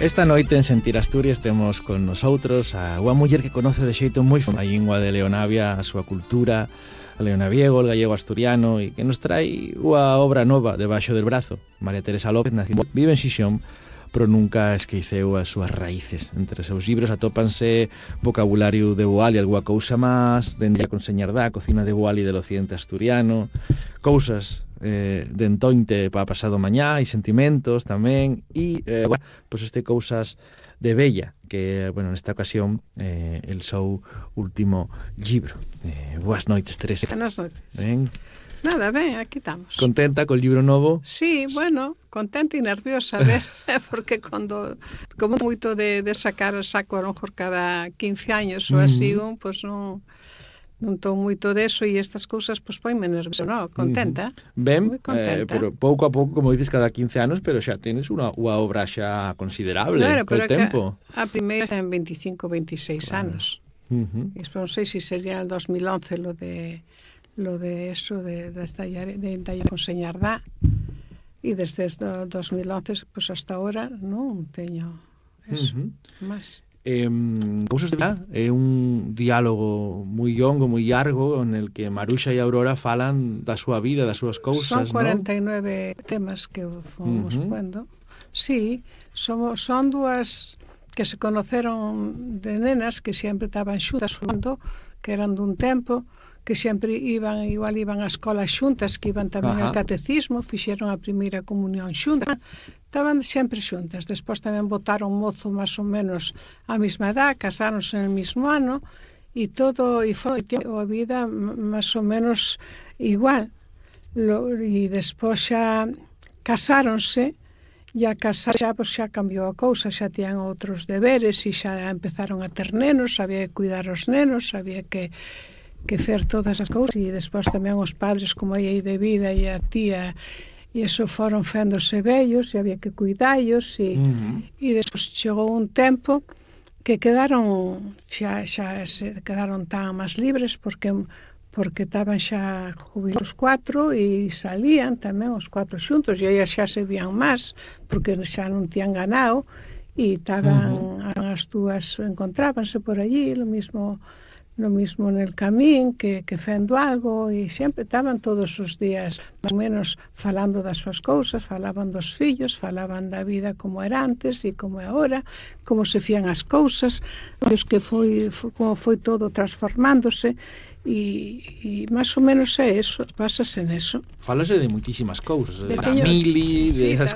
Esta noite en Sentir Asturias temos con nosotros a unha muller que conoce de xeito moi a lingua de Leonavia, a súa cultura, a leonaviego, o gallego asturiano, e que nos trai unha obra nova debaixo del brazo. María Teresa López vive en Xixón, pero nunca esqueceu as súas raíces. Entre os seus libros atópanse vocabulario de Boal e alguna cousa máis, dende a Conseñardá, a cocina de Boal e del occidente asturiano, cousas de entointe para pasado mañá e sentimentos tamén, e pois este cousas de Bella, que, bueno, nesta ocasión el seu último libro. Boas noites, Teresa. Buenas noites. Ben? Nada, ben, aquí estamos. Contenta col libro novo? Sí, bueno, contenta e nerviosa, ver, porque como moito de saco a lo mejor cada 15 años ou así, pois non estou moito deso e estas cousas pois ponme nerviosa, no, contenta. Ben, moi contenta. pero pouco a pouco, como dices, cada 15 anos, pero xa tenes unha obra xa considerable col tempo. A primeira ten 25, 26 anos. E non sei se sería el 2011 lo de eso de Conseñardá, e desde o 2011 pues hasta ahora non teño eso máis. Cousas de Bella é un diálogo moi longo, moi largo, en el que Maruxa e Aurora falan da súa vida, das súas cousas, son 49 temas que fomos pondo. Sí, son dúas que se conoceron de nenas, que sempre estaban xuntas, que eran dun tempo, que sempre iban á escola xuntas, que iban tamén ao catecismo, fixeron a primeira comunión xuntas, estaban sempre xuntas. Despois tamén botaron mozo máis ou menos a mesma edad, casáronse no mesmo ano, e todo, e foi a vida máis ou menos igual. E despois xa casáronse, e a casar xa cambiou a cousa, xa tiñan outros deberes, e xa empezaron a ter nenos, había que cuidar os nenos, había que fer todas as cousas, e despois tamén os padres, como aí de vida, e a tía, e eso foron féndose vellos, e había que cuidallos, e despois chegou un tempo que quedaron quedaron tan máis libres, porque estaban xa jubilados 4 e salían tamén os 4 xuntos, e aí xa se vían máis, porque xa non tían ganado, e estaban as dúas, encontrábanse por allí, lo mismo nel camín, que fendo algo, e sempre estaban todos os días máis ou menos falando das súas cousas, falaban dos fillos, falaban da vida como era antes e como é agora, como se fían as cousas, como foi todo transformándose, e máis ou menos é eso, pásase neso. Falase de moitísimas cousas, da mili, de